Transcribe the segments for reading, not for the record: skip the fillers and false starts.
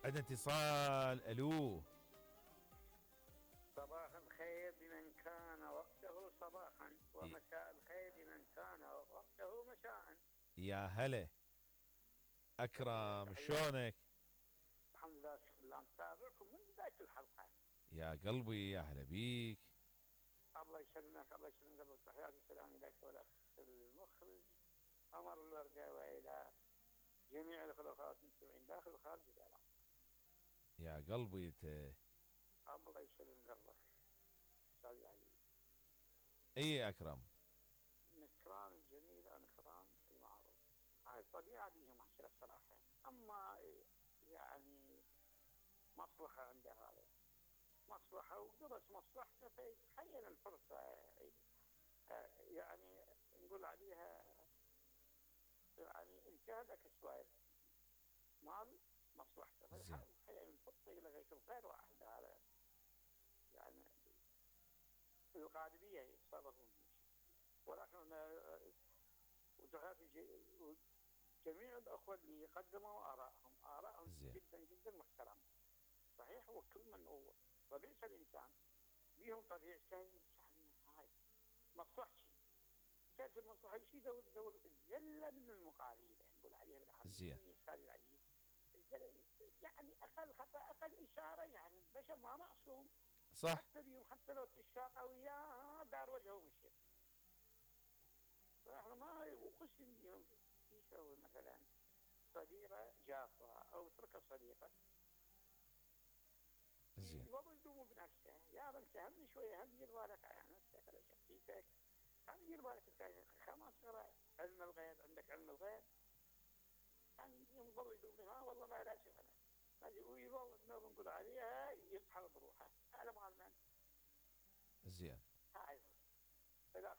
عندنا اتصال. الو. صباح الخير بمن كان وقته صباحا، ومساء الخير بمن كان وقته مساء. يا هلا اكرم، شلونك؟ الحمد لله، شكرا لله، نتابعكم من بدايه الحلقه. يا قلبي يا هلا بيك. الله يسلمك، الله يسلمك، قبل تحياتي والسلام اليك والاخ المخرج عمر الورده، والى جميع الاخوات المستمعين داخل وخارج الاعلام. يا قلبي الله يسلم قلبك استاذ العزيز. اي يا اكرم. نكران الجميل عن نكران المعروف، هاي الطبيعه بيها محشره الصراحه. اما يعني مصلحه عند هذا، مصلحه ودرس مصلحته، فيتحين الفرصه يعني نقول عليها يعني انتهلك شويه مال مصلحته، فيتحين الفرصه الى غير واحد. هذا يعني القادريه يتصرفون، ولكن جميع الاخوه اللي قدموا ارائهم جدا جدا محترمه. صحيح، وكل من هو طبيعه الانسان بيهم طبيعته، يعني هاي مصلحتي، كانت المصلحه شيء دور الزله من المقارير، نقول عليها بالعربيه استاذ العزيز. يعني اقل خطا، اقل اشاره، يعني البشر ما معصوم. صح. حتى اليوم حتى لو تشاقى وياه دار وجهه ومشي، فاحنا ما وقسم اليوم يسوي مثلا صديقه جافه او اترك الصديقه. زين. يبغوا يدوموا بنفسه، يا بنت هم شويه، هم دير بالك على نفسك على شخصيتك، هم دير بالك انت خلاص علم الغيب، عندك علم الغيب. يعني يظل يدوم ها والله ما لا شيء انا، ويظل نقول عليها يصحى بروحه، هذا مال من؟ زين. هاي الاخ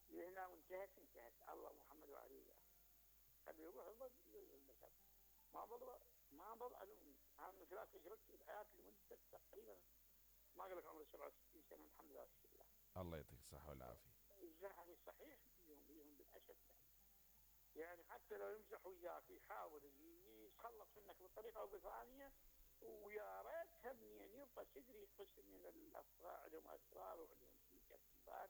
هنا وانتهت الله محمد وعلي خلي يروح البشر، ما ضل علوم. انا من خلال تجربتي بحياتي لمده تقريبا ما اقول لك عمري 67 سنه، الحمد لله والشكر لله. الله يعطيك الصحه والعافيه. يعني صحيح بيهم بالاسف، يعني حتى لو يمزح وياك يحاول يتخلص منك بطريقه او بثانيه، ويا ريت هم يعني يبقى صدري قسم من الافكار، عندهم اسرار وعندهم ترتيبات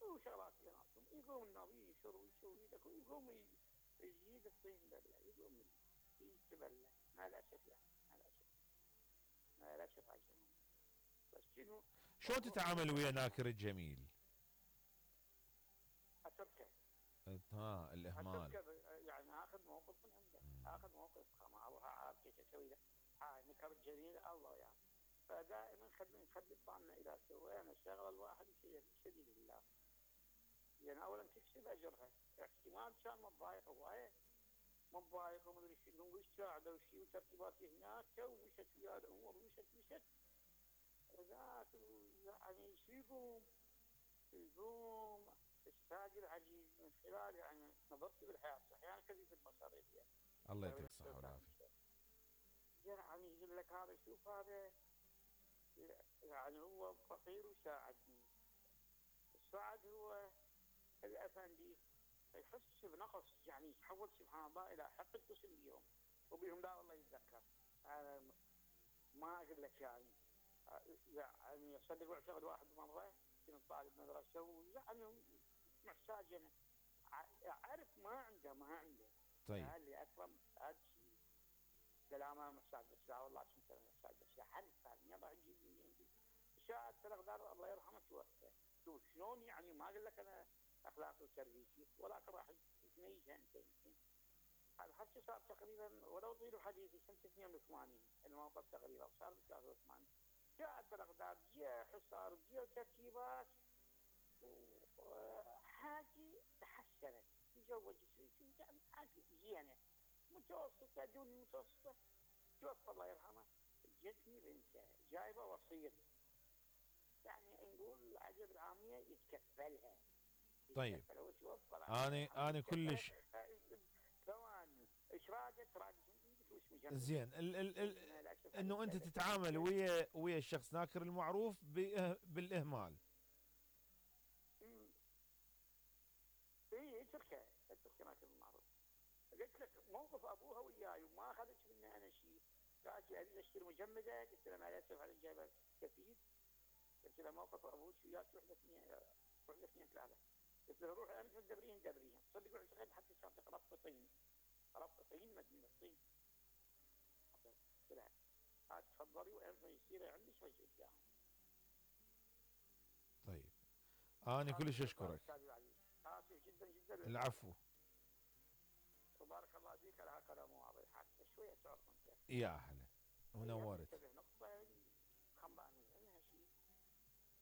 وشغلات بيناتهم، يقوم النبي يسوي لك، ويقوم يجيد الطين بله، يقوم يتبلى. ما الاسف يعني، ما الاسف عشان بس شنو. شلون تتعامل ويا ناكر الجميل؟ اتركه. الاهمال. اتركه، يعني اخذ موقف من عنده، اخذ موقف ما اروح اعرف كيف اسوي له. هاي نكر الجميل الله يعني. فدائما نخلي بالنا اذا سوينا الشغله الواحد شديد لله، يعني اولا تكسب اجرها. احتمال كان متضايق هوايه، متضايق ومدري شنو، ويساعده وشي وترتيبات هناك، ومشت ويا الامور مشت ذاك يعني شو يقوم الساق العزيز من خلال يعني نظرتي بالحياه احيانا يعني كذب المصاريف. الله يعطيك الصحه والعافيه. يعني يقول لك هذا شوف هذا يعني هو فقير وساعدني، الساعد هو الافندي، يحس بنقص، يعني يتحول سبحان الله الى حق القسم بيهم، وبيهم لا والله يتذكر. انا ما اقول لك يعني صدق واعتقد واحد مره كنت طالب مدرسه، ويعني محتاج انا اعرف ما عنده. طيب. قال لي اكرم هذا شيء كلامه محتاج بس، والله كنت محتاج بس حرف ثاني يلا عندي شاهد الاقدار الله يرحمه توفى. شوف شلون يعني، ما اقول لك انا اخلاقي وتربيتي، ولكن راح تميزها انت يمكن. هذا الحكي صار تقريبا ولو طيل حديثي سنه 82 الموقف تقريبا صار ب 83. جاءت الاقدار، جاء حصار، جاء ترتيبات، وحاجه تحسنت، تزوج يعني حاجه زينه متوسطه دون المتوسطه. توفى الله يرحمه، جتني بنته جايبه وصيه، يعني نقول عجب العاميه يتكفلها. طيب. وتوفى انا كلش ثواني اشراقت زين. انه انت تتعامل ويا الشخص ناكر المعروف بالاهمال. اي اتركه ناكر المعروف. قلت لك موقف ابوها وياي وما اخذت مني انا شيء، قالت لي اريد اشتري مجمده، قلت لها ما اسف عليك جايبه كفيل، قلت لها موقف ابوك وياك تروح لاثنين ثلاثه، قلت لها روحي انت تدبرين صدق رحت لغايه حتى شاطئ ربط طين مدينه طين، قلت لها هات تفضلي وانت يصير عندك وجه قدام. طيب انا كلش اشكرك. اسف جدا جدا. العفو. وبارك الله فيك على هالكلام واضح، حتى شويه تعرف انت. يا هلا ونورت. نقطه خنبانيه انها شيء،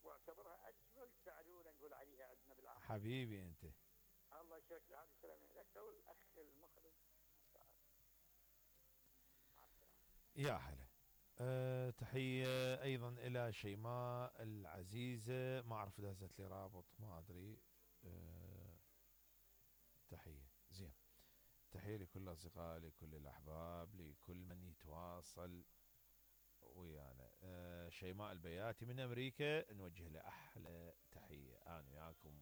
واعتبرها اجمل تعلوله نقول عليها عندنا بالعالم. حبيبي انت. الله يشفيك، هذه السلامه لك والاخ المخلص. يا هلا. تحية أيضا إلى شيماء العزيزة، ما أعرف إذا هزت لي رابط ما أدري. تحية زين. تحية لكل الأصدقاء، لكل الأحباب، لكل من يتواصل ويانا. شيماء البياتي من أمريكا نوجه له أحلى تحية. أنا وياكم